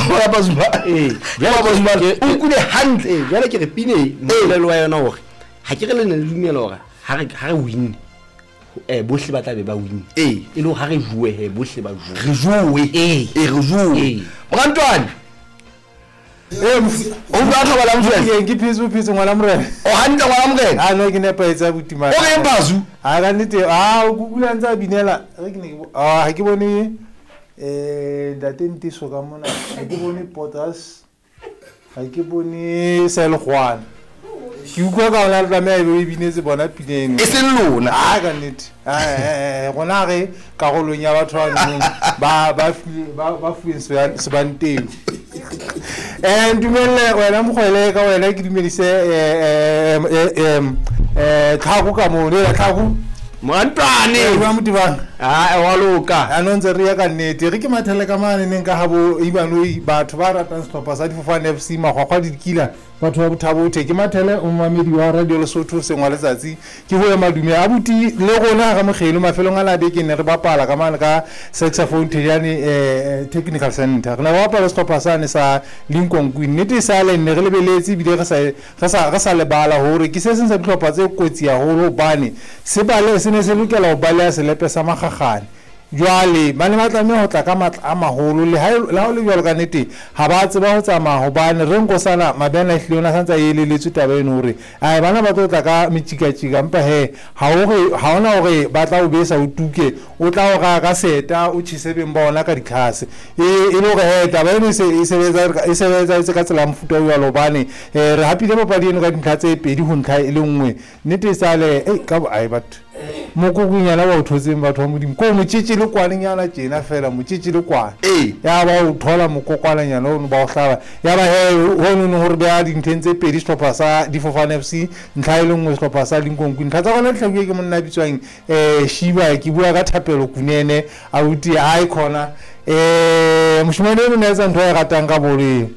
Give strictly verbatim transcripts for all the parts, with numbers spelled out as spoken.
Ngwana Pasuma. Ee. Ngwana Pasuma o nkule hantle. Ee, jwale ke re pine e moelelo wa yona hore ha ke re le ne le dumela hore ha re ha re win eh bohle ba tla be ba win. Ee. E le hore ha re jowe he bohle ba jowe. Re jowe. Ee. Ee, re jowe. Ee. Morantwane. Eh, mofu- O utlwa thobalang Mofela? Ke ke phetse phetse ngwana morena. O hantle ngwana morena. A no ke nepahetse abuti mara. O reng Bazu? Ha ka nnete, ah o kukula ntse a binela. Re ke ne ke bo- ah ha ke bone eh ntate Ntiso ka mona. Ha ke bone Potas. Ha ke bone Selgwana. Ke utlwa ka ona le tlameha ebe o e binetse bona pina eno. E seng lona. Ah ka nnete. Ah eh eh rona re karolong ya batho ba nong ba ba fuwe ba ba fuweng seba- sebanteng. Eh ntumelle wena mokgwele ka wena ke dumedise eh eh eh eh Tlhako ka moo le Tlhako. Morantwane. Ba Motibang. Ah, wa loka. A no ntse re ya ka nnete re ke mathele ka mane neng ka habo Ibanoi batho ba ratang sehlopha sa Difofane F C Magwagwa le Dikila batho ba Bothabothe ke mathele o momamedi wa Radio Lesotho sengwa letsatsi ke ho ema dume abuti le rona ga mogelo mafelong a la beke ne re bapala ka mane ka Saxophone Thejane eh Technical Center re ne re bapala sehlopha sane sa Lincoln Queen nnete e sale ne re lebeletse ebile re sa re sa re sa lebala hore ke se seng sa dihlopha tse kotsi haholo hobane se bale se ne se lokela ho baleha selepe sa Makgakgane. Jwale ba ne ba tlameha ho tla ka matla a maholo le ha e, le ha ho le jwalo ka nnete ha ba tseba ho tsamaya hobane re Nkosana Mabena ehlile o ne a santse a elelletswe taba eno hore ai bana ba tlo tla ka metjikatjika empa he ha o re ha hona hore ba tla o besa o tuke o tla o raya ka seta o tjhese beng ba ona ka ditlhase e e le hore he taba eno e se e sebetsa e sebetsa ka tsela ya mofuta o jwalo hobane eh re hapile papadi eno ka dintlha tse pedi ho ntlha e le nngwe nnete e sale ei ka bo ai batho mokokonyana ba o thotseng batho ba Modimo ko motjetje le kwanenyana tjena fela motjetje le kwane Ee. ya ba o thola mokokwananyana ono ba o hlaba ya ba he hono no hore beha dintlheng tse pedi sehlopha sa Difofane F C ntlha e le nngwe sehlopha sa Lincoln Queen ntlha tsa rona di hlabuwe ke monna a bitswang eh Shiba ke bua ka Thapelo Kunene abuti ai khona eh moshemane eno ne a etsa ntho e ratang ka bolo eo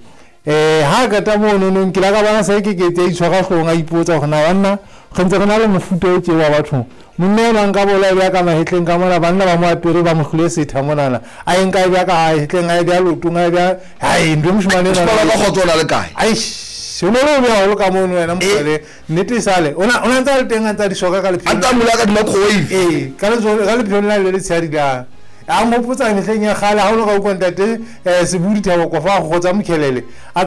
eh ha qeta mono nong ke la ka bona se ke ke tse itshwara hloohong a ipotsa hore na banna re ntse re na le mofuta o tje wa batho monna enwa nka bola e beha ka mahetleng ka mona banna ba mo apere ba mo hlole setha monana a e nka e beha ka mahetleng a e beha leotong a e beha hai ntho e moshemane enwa Moshemane ka kgotso o na le kae? Aish, o ne o beha haholo ka mono wena mokgwele nnete e sale o na o na ntse a le teng a ntse a di soka ka A lepheong ntse a mula ka di-microwave. Ee, ka letsoho ka lepheong la le letshehadi la a nghopotsa mehleng ya kgale ha o le ka utlwa ntate eh Sebudi Thabo Kofa a kgotsa mokhelele a